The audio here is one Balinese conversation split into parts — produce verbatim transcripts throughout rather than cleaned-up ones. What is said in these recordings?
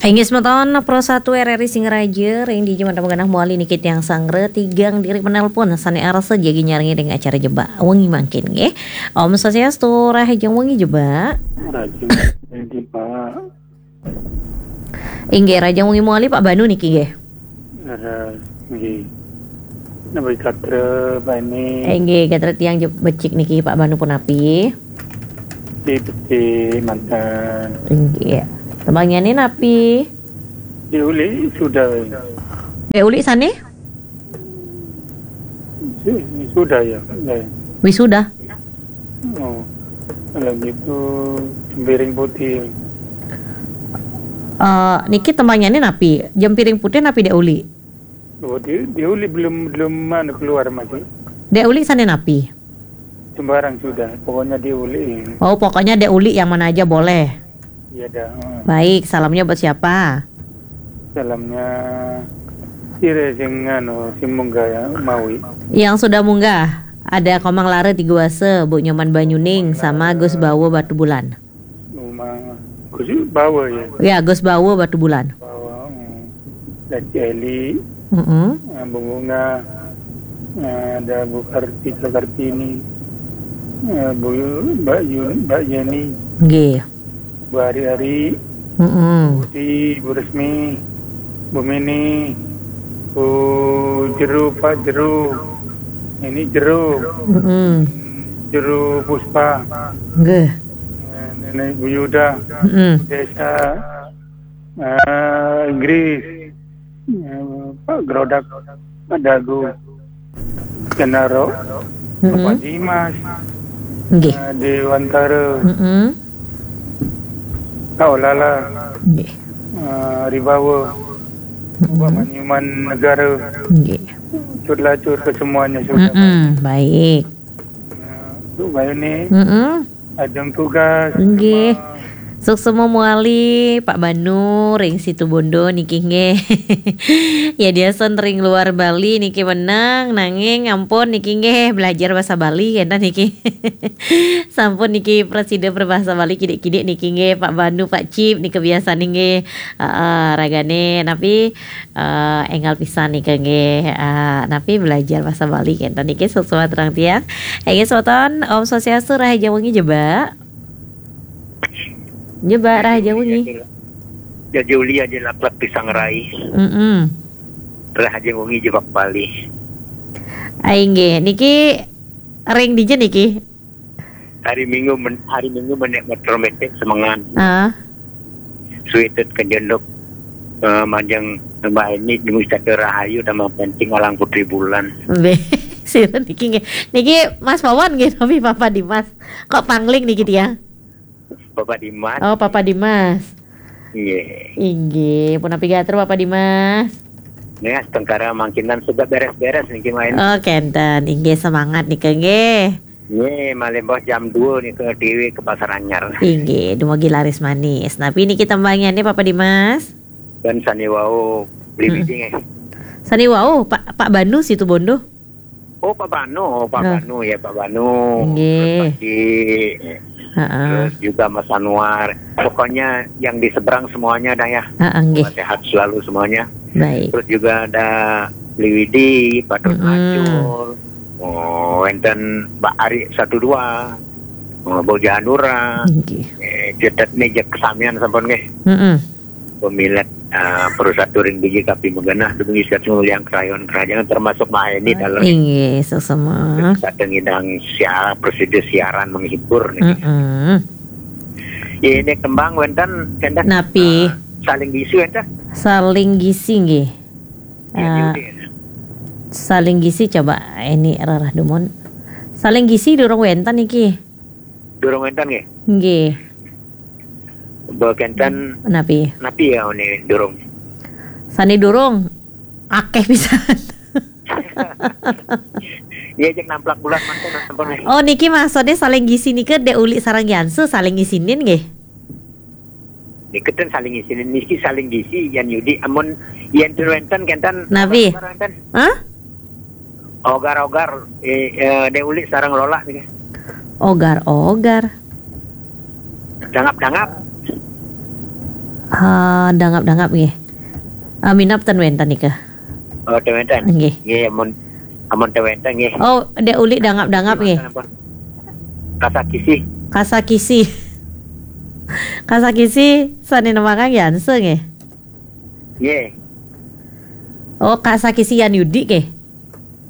Inggih semeton, Pro satu R R I Singaraja, ring dija mantap genah mawali niki tiang sanggra, tigang diri penelpon, sane arsa jagi nyarengin ring acara Jebak Wengi mangkin, nggih. Om Swastiastu, rahajeng wengi Jebak. Rahajeng wengi, Pak. Inggih, rahajeng wengi mawali Pak Banu niki, nggih. Leres, nggih. Napi gatra, Pak ini? Eh, nggih, gatra tiang je-, becik niki, Pak Banu punapi? Becik, becik, manten. Inggih. Tembangyane napi? Dek Uli sudah. Dek Uli sane? Su-, sudah ya. Ya. Wisuda? Oh. Kalau gitu, Jempiring Putih. Eh, niki tembangyane napi? Jempiring Putih napi Dek Uli? Oh, Dek, Dek Uli belum, belum, anu, keluar masih. Dek Uli sane napi? Sembarang sudah. Pokoknya Dek Uli. Oh, pokoknya Dek Uli yang mana aja boleh. Iya dah. Hmm. Baik, salamnya buat siapa? Salamnya sira sing anu, sing munggah ya, mawi. Yang sudah munggah, ada Komang Lara Tiguasa, Bu Nyoman Banyuning, sama Gus Bawa Batubulan. Rumah Gus Bawa ya? Ya, Gus Bawa Batubulan. Bawa, hmm. Daci Eli, Mm-mm. eh, Bu Bunga, eh, ada Bu Kartika Kartini, eh, Bu Yu-, Mbak Yun-, Mbak Yeni, Nggih. Bu Ari-Ari, Mm-mm. Budi, Bu Resmi, Bu Mini, Bu Jeru, Pak Jeru, ini Jeru, Mm-mm. Jeru Puspa, Nggih. eh, Nenek Bu Yuda, Mm-mm. Desa, eh, Inggris, eh, Pak Grodak, Pak Dagu, Kenaro, Mm-mm. Bapak Dimas, Nggih. eh, Dewantara, Mm-mm. Kak Olala, Nggih. eh, Ribawa, Mm-mm. Pak Manyuman Negara, Nggih. Cut Lacur ke semuanya sudah. Mm-mm. Baik. Eh, untuk bayu ni, Mm-mm. Ajeng tugas. Nggih. Suksma mawali, Pak Banu, ring Situbondo niki nggih. Ya, diasen ring luar Bali niki meneng, nanging ampun niki nggih, belajar basa Bali kenten niki. Sampun niki prasida prabasa Bali kidik-kidik niki nggih, Pak Banu, Pak Cip niki biasane nggih. Heeh, ragane napi, eh, enggal pisan nika nggih, eh, napi belajar basa Bali kenten niki, suksma terang tiang. Nggih, semeton, Om Swastiastu, rahajeng wengi Jebak. Jebak, rahajeng wengi. Jaja uli aja laklak pisang rai. Mm-mm. Rahajeng wengi Jebak Bali. Ah, inggih, niki ring dija niki? Hari Minggu men-, hari Minggu menek motor metek semengan. Ah. Suitet kejenduk, eh, majeng Mbak Eni, demi satu rahayu, tambah penting alang Putri Bulan. Be, sira niki nggih. Niki Mas Wawan nggih, napi Papa Dimas? Kok pangling niki tiang? Papa Dimas. Oh, Papa Dimas. Nggih. Inggih, punapi gatra Papa Dimas? Nih, astungkara mangkin sudah beres-beres niki main. Oh, kenten. Inggih, semangat nika nggih. Nggih, malih mbok jam dua nika dhewe ke Pasar Anyar. Inggih, dumugi laris manis. Napi niki tembangyane Papa Dimas? Dan sane wau beli Mm-mm. biji nggih. Sane wau, Pak, Pak Banu Situbondo. Oh, Pak Banu, oh, Pak Ah. Banu ya, Pak Banu. Nggih. Terus Pak Cik, Heeh. terus juga Mas Anwar. Pokoknya yang di seberang semuanya dah ya. Heeh, nggih. Semoga sehat selalu semuanya. Baik. Terus juga ada Beli Widi, Pak Dut Mm-mm. Macul. Oh, wenten Mbak Ari satu dua. Oh, Mbok Janura. Nggih. Eh, cetet ni je kesamian sampun nggih. Mm-mm. Pemilet, eh, Pro satu ring biji kapi magenah, dumugi sehat sumulya ing krayon kerajangan, termasuk Mbak Eni dalem. Inggih, suksma. Kadang ngidang siar, prosedur siaran menghibur niki. Mm-mm. Ya, ini kembang wenten, wenten, Napi? eh, saling gisu wenten. Saling gisi nggih. Ya, Eh, diundi. Saling gisi coba ini rarah dumun. Saling gisi durung wenten niki. Durung wenten nggih? Nggih. Mbok kenten Napi? Napi ya ini durung? Sane durung akeh pisan. Iya, cek namplak bulan manten sampun nggih. Oh, niki maksudnya saling gisi nika Dek Uli sareng Yansu saling ngisinin nggih. Niki ten saling ngisinin, niki saling gisi, yan yudi, amun yan ten wenten kenten. Napi? Wenten. Hah? Ogar-ogar, eh, eh, Dek Uli sareng Lola niki. Ogar-ogar. Dangap-dangap. Ah, dangap-dangap nggih. Ah, minab ten wénten nika. Oh, ten wénten. Nggih. Nggih, amun, amun ten wénten nggih. Oh, Dék Ulik dangap-dangap nggih. Kasakisi. Kasakisi. Kasakisi sané nembangang Yanse nggih. Nggih. Oh, Kasakisi Yan Yudi nggih.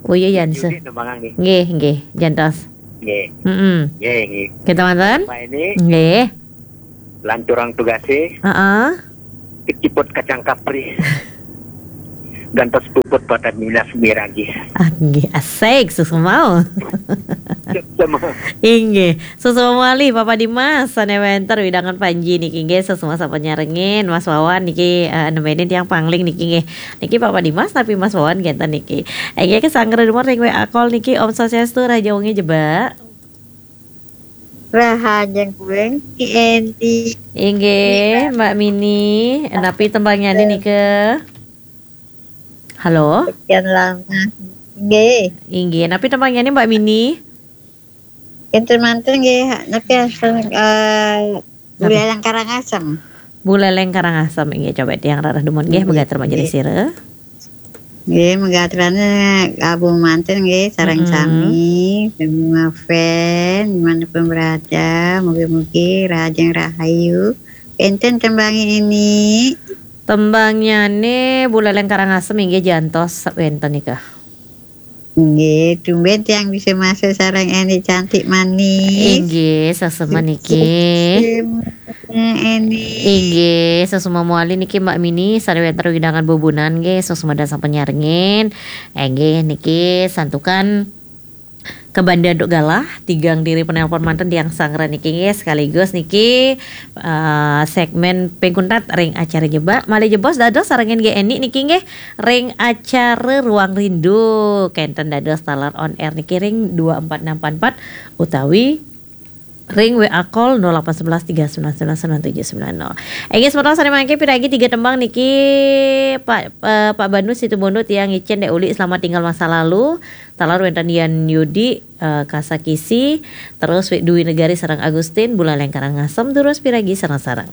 Oh iya, Yanse. Yudi nembangang nggih. Nggih, nggih, jantos. Nggih. Mm-mm. Nggih, nggih. Kita manten? Pak ini. Nggih. Lanturang tugasé. Heeh. Keciput kacang kapri. Gantos puput pada minas miragi. Ah, nggih, asik, susu mau. Sama. Inggih, susu mawali Papa Dimas, sané wénten wewidangan Panji niki nggih, susu sampun nyarengin, Mas Wawan niki, eh, nemenin tiang pangling niki nggih. Niki Papa Dimas tapi Mas Wawan genten niki. Inggih, kesanggra dumun ring W A call niki, Om Swastiastu, rahajeng wengi Jebak. Rahajeng wengi Eni. Inggih, Mbak Mini, napi tembangnyané nika? Halo? Sekian lama. Nggih. Inggih, napi tembangnyané Mbak Mini? Kinten manten nggih, napi asal, eh, Napi? Buleleng Karangasem. Buleleng Karangasem, inggih, coba tiang rarah dumun nggih, Nggih, megatur majelis nggih. Sira. Nggih, megaturane gabung manten nggih, sareng Mm-mm. Sami, semua fan, dimanapun berada, mugi-mugi rahajeng rahayu. Enten tembange ini. Tembangnyané Buleleng Karangasem inggih jantos wénten nika. Nggih, tumben tiang bisa masuk sareng Eni cantik manis. Inggih, sesama niki. Sesama Eni. Inggih, sesama mawali niki Mbak Mini, sané wénten wewidangan bubunan nggih, sesama dan sampun nyarengin. Inggih, niki santukan kabanda antuk galah, tigang diri penelpon manten tiang sanggra niki nggih, sekaligus niki, eh, segmen ping kuntat ring acara Jebak. Malih jebos dados sarengin nggih Eni niki nggih ring acara Ruang Rindu. Kenten dados taler on air niki ring dua empat enam empat empat utawi ring W A call nol delapan sebelas tiga sembilan sembilan sembilan tujuh sembilan nol. Inggih, semeton sané mangkin piragi tiga tembang niki, Pak, eh, Pak Banu Situbondo tiang ngicén Dék Ulik, Selamat Tinggal Masa Lalu, taler wénten Yan Yudi, eh, Kasakisi, terus Dwi Negari sareng Agustin, Buleleng Karangasem, durus piragi sareng-sareng.